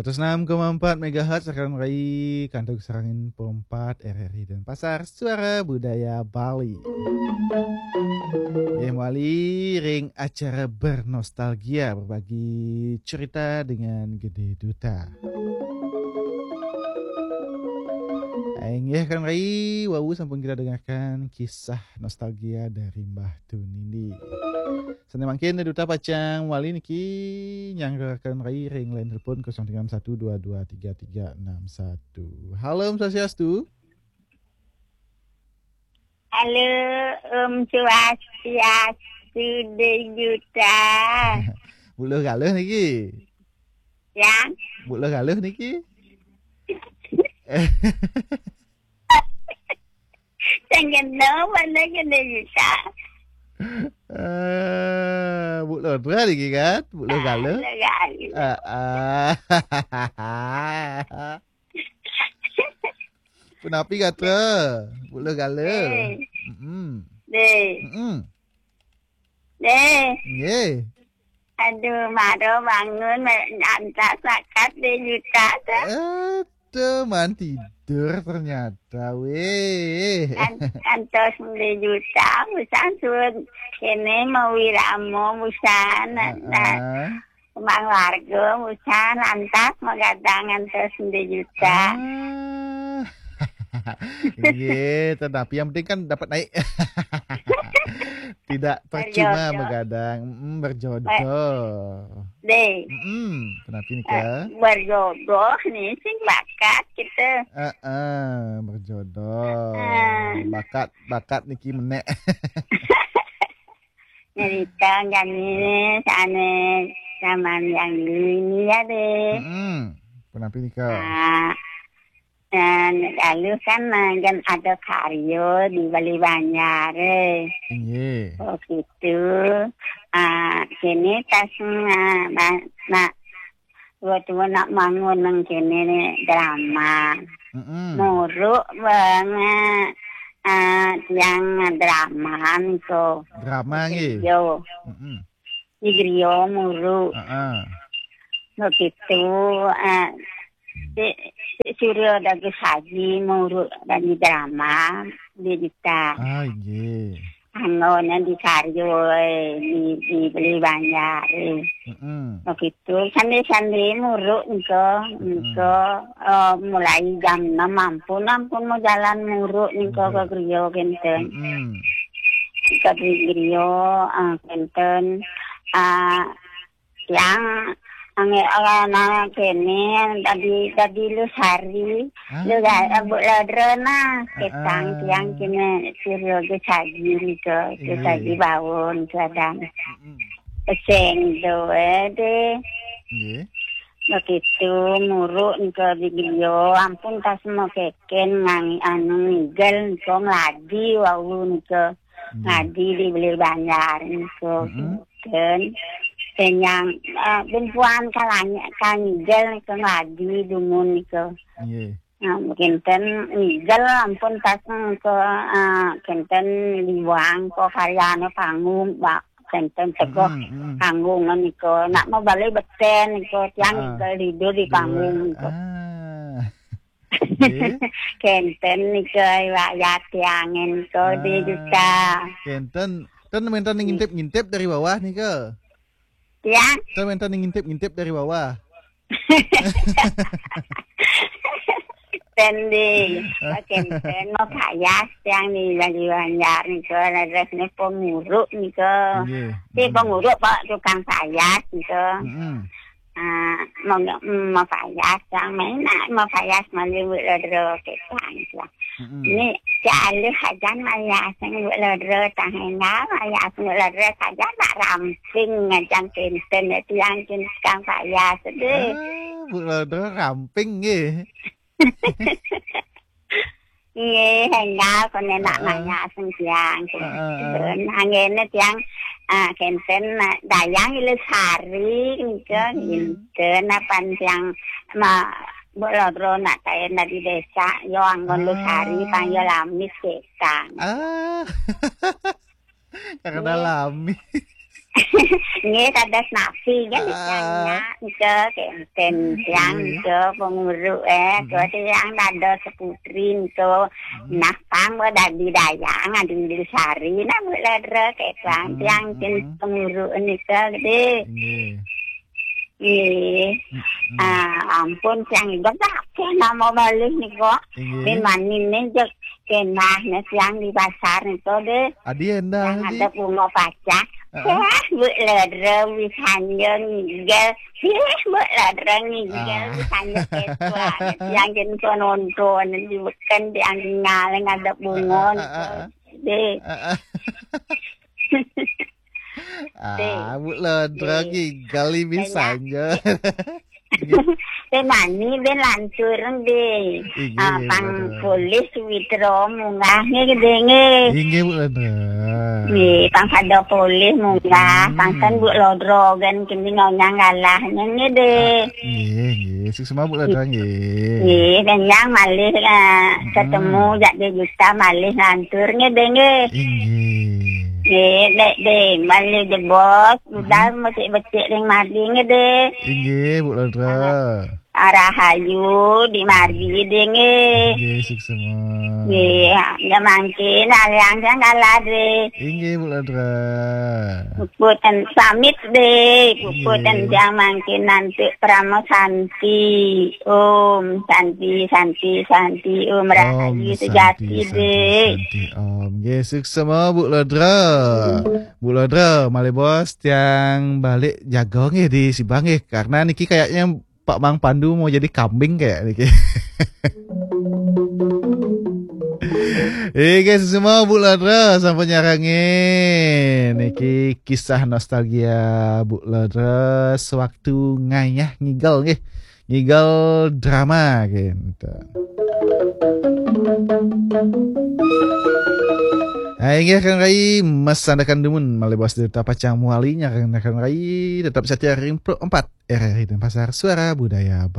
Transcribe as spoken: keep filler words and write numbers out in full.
Seratus enam koma empat megahertz rekan rai, kantog sareng Info empat R R I Denpasar, Suara Budaya Bali. Nggih, mawali ring acara Bernostalgia, berbagi cerita dengan Gede Duta. Inggih, rekan rai, wau sampun kita dengarkan kisah nostalgia dari Mbah Tunindi. Sané mangkin Duta pacang wali niki nyanggra rekan rai ring line telepon kosong tiga enam satu dua dua tiga tiga enam satu. Halo, Om Swastiastu. Halo, Om Swastiastu, Dé Duta. Bu Luh Galuh niki. Ya. Bu Luh Galuh niki. Sing kena mana kena bisa. Eh, Bu Lodra niki kan? Bu Luh Galuh. Lodra. Ah, ah. Punapi gatra? Bu Luh Galuh. Eh. Mm-mm. Dé. Mm-mm. Dé. Nggih. Aduh, mara bangun, ma-, lantas bakat Dé Duta tuh. Aduh, man tidur ternyata, wéh. Kan-, kantos Dé Duta, busan suud kéné mawirama, busan. Heeh. Kembang warga, busan, lantas magadang kantos Dé Duta. Ah. Nggih, tetapi yang penting kan dapat naik. Tidak percuma berjodoh. Magadang. Mm, berjodoh. Eh, Dé. Mm-mm. Kenapa nih, eh, Kak? Berjodoh nih, sing bakat kita. Heeh, berjodoh. Heeh. Bakat, bakat niki menék. Nyerita jani sané zaman yang dulu ini ya, Dé. Mm-mm. Kenapa nih, Kak? Ah, Dan lalu kan, eh, kan ada karya di Bali Banjar, eh. Inggih. Oh, gitu. Ah, kini tas, ah, ba-, nak, buat nak bangun nang kini ni drama. Mm-mm. Muruk banget, ah, tiang drama niko. Drama nggih. Yo. Mm-mm. Di griya muruk. Heeh. Begitu, eh, si, si Suryo dadi saji muruk dadi drama di Dita. Ah, inggih. Anggone di karya, eh, di, di Bali Banjar, eh. Mm-mm. Begitu, sandi-sandi muruk nika, mm-mm, nika, eh, mulai jam enam ampun, ampun mau jalan muruk nika, inggih, ke griya kenten. Mm-mm. Nika di griya, eh, kenten. Ah, yang angge-, ah, nah, kene, dadi, dadi lu sari, ah, lu ga-, Bu Lodro nah, ketang, ah, tiang kene, Suryo ge saji nika, ke, inggih, saji bawon, kadang. Mm-mm. Peseng doe deh. Inggih. Begitu, muruk nika di griya, ampun tas mau keken ngang-, anu, ngigel nika, ngladi wau nika. Nggih. Ngadi di Bali Banjar niku. Mm-mm. Kinten. Penyang, eh, bumpuan kalanya, kangigel niku ngadi dumun niku. Nggih. Nah, kinten ngigel ampun tas niku, eh, kinten liwang ko karyane panggung, Pak. Kinten teguh, mm-mm, mm-mm, panggung niku. Nak mau balik beten niku, tiang, ah, ngigel tidur di panggung niku. Ah. Nggih. Kenten nika wayah tiangen ko di, ah, Duta. Kenten, ten wenten ngintip-ngintip dari bawah nika. Ya. Ten wenten ngintip-ngintip dari bawah. Ten di, ah, kenten mau payas tiang di Bali Banjar nika, resne penguruk nika. Nggih. Si, mm-mm, penguruk, Pak, tukang payas nika. Mm-mm. Ah, mau, mm, mau payas, yang main nak mau payas, mali wik lodro ketang, ya. Mm-mm. Ini si alih ajan payas, yang wik lodro tang enggak, payas wik lodro saja nak ramping ngajang kenten, ya, tiang kenten tukang payas, deh. Ah, Bu Lodro ramping, nggih. Nggih, enggal kone nak, ah, maya sing tiang. Heeh. Anggene tiang, ah, kenten, ah, dayang Ilu Sari, nika, mm-mm, kinten, apan tiang ma-, Bu Lodro nak taen dari desa, yo anggon Lu Sari, ah, pang yo lamis ketang. Ah. Karena, nggih, lamis. Nggih, dados napi, kan, ah, tiang nyak, nika, kenten tiang, nggih, nika, penguruk, eh, hmm, tua tiang dados seputri, nika. Hmm. Nah, pang, wa, dadi dayang, adi Sari, nah, Bu Ledra, kek tuan, hmm, tiang, kin, hmm, penguruk, nika, gede. Nggih. Nggih. Hmm, hmm. Ah, ampun, tiang, inggih, apa nama malih, nika? Nggih. Min mani, nih, jek, kenah, nih, tiang di pasar, nika, deh. Adi endah, yang adi ada bunga pacak. Heeh. Wah, Bu Ledra, wis hanya ngigel. Wih, Bu Ledra, ngigel, ah, wis hanya ketua. Yang kin ko nonton, di beken, di anggal, yang ada bunga, heeh, heeh, heeh, deh. Heeh. Deh. Ah, Bu Ledra, deh, ngigel, wis hanya hanya. Teh mani ben lantur, deh. Inggih, ah, nggih, pang, Bu Ledra. Polih Suwitra munggah, nggih, gede, nggih. Inggih, Bu Ledra. Nggih, pang pada polih munggah, hmm, pangken Bu Ledra, gen kini nyonyang galah, nggih, deh. Ah, nggih, nggih. Suksma, Bu Ledra, nggih. Nggih, kenyang malih, ah, hmm, ketemu jak dua juta malih lantur, nggih, deh, nggih. Inggih. Nggih, dek, deh, malih jebos. Udah, hmm, becik-becik ring madi, nggih, deh. Inggih, Bu Ledra. Arah, arah ayu di madi, deh, nggih. Inggih, suksma. Nggih, ya mangkin, aliang sang kalah, deh. Inggih, Bu Ledra. Puput dan pamit, deh. Puput dan, inggih, yang mangkin nanti Pramo Santi. Om Santi, Santi, Santi. Om Rahayu, om Santi, sejati, Santi, deh. Santi, Om. Nggih, suksma, Bu Ledra. Bu Ledra, malih bos, tiang balik jaga nggih di Sibang nggih. Karena niki kayaknya Pak Mang Pandu mau jadi kambing kayak niki. Eh, guys, semua Bu Ledra sampun nyarengin. Niki kisah nostalgia Bu Ledra sewaktu ngayah ngigel nggih. Ngigel drama gitu. Nah, inggih Kang Rai, mas sandakan dumun, malih bos dari Tapacang Muali, nyarengin Kang Rai, tetap setia ring empat R R I Denpasar, Suara Budaya Bali.